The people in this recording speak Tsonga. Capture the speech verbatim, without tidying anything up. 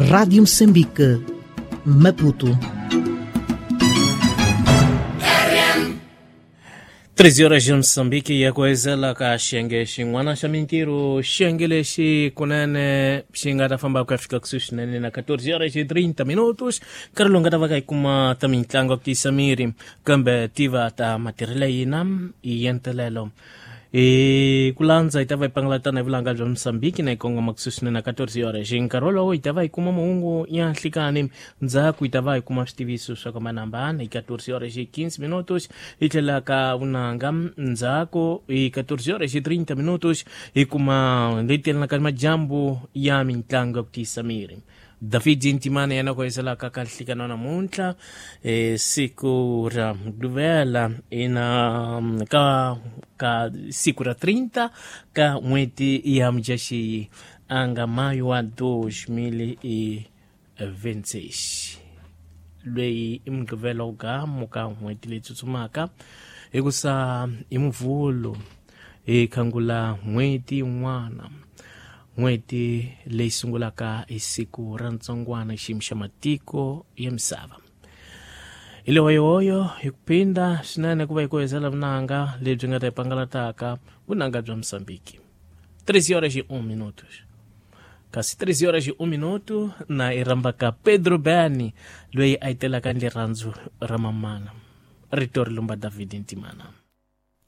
Rádio Moçambique, Maputo. treze horas de Moçambique e a coisa lá ka xenge xin'wana xa mintirho xenge lexi kunene xi nga ta famba ku ya fika kusuhi swinene na catorze horas e trinta minutos nkarhi lowu nga ta va ka yi kuma ta mitlangu ya ku tiyisa miri kambe tiva ta matirhelo yina hi yentelelo hi ku landza hi ta va hi pangalatana hi vulanga bya Moçambique na hi kongoma kusuhi swinene na catorze horas hi nkarhi wolowo hi ta va hi kuma mahungu ya nhlikani ndzhaku hi ta va hi kuma switiviso swa ku hambanahambana hi catorze horas e quinze minutos hi tlhela ka vunanga ndzhaku hi catorze horas e trinta minutos hi kuma leyi telanaka ni majambu ya mitlangu ya ku tiyisa miri. David Ntimane yena ku hiselaka ka nhlikano namuntlha eh, siku ra Mugqivela ina ka ka siku ra trinta ka n'hweti ya Mudyaxihi a nga mayo wa dois mil e vinte e seis loyi i Mugqivela wu gamu ka n'hweti leyi tsutsumaka hikusa i Muvhulu hi khangula n'hweti yin'wana n'hweti leyi sungulaka hi siku ra ntsongwana xiyimo xa matiko ya misava. Hi le hoyohoyo hi ku phinda swinene ku va hi ku hezela vunanga lebyi nga ta hi pangalataka vunanga bya Moçambique. treze horas e um minutos. Kasi treze horas e um minuto na i rhambaka Pedro Bani loyi a yi telaka ni rirhandzu ra mamana. Rito ri lumba David Ntimana.